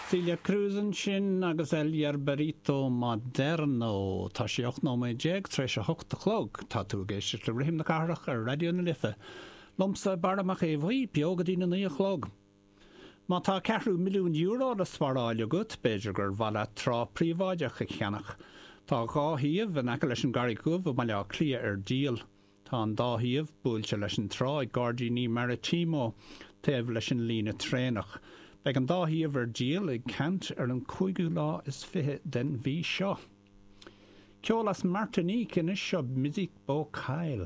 Celia Cruz ansin agus El Yerbarito Moderno. Tá sé 18 nóiméad tar éis a hocht a chlog. Tá tú ag éisteacht le Rithim na Cathrach ar Raidió na Life. Liomsa, Barra Mac Aodha Bhuí, beo go dtí na naoi a chlog. Má tá ceathrú milliún euro le sparáil agat, b'fhéidir gur mhaith leat trá príobháideach a cheannach. Tá dhá shuíomh in aice leis an gCarraig Dhubh i mBaile Átha Cliath ar díol. Tá an dá shuíomh buailte leis an trá ag Gairdíní Maritimo, taobh leis an líne traenach. Beidh an dá shuíomh ar díol ag ceant ar an cúigiú lá is 20 den mhí seo. Ceol as Martinique anois, seo Mizik Bokail.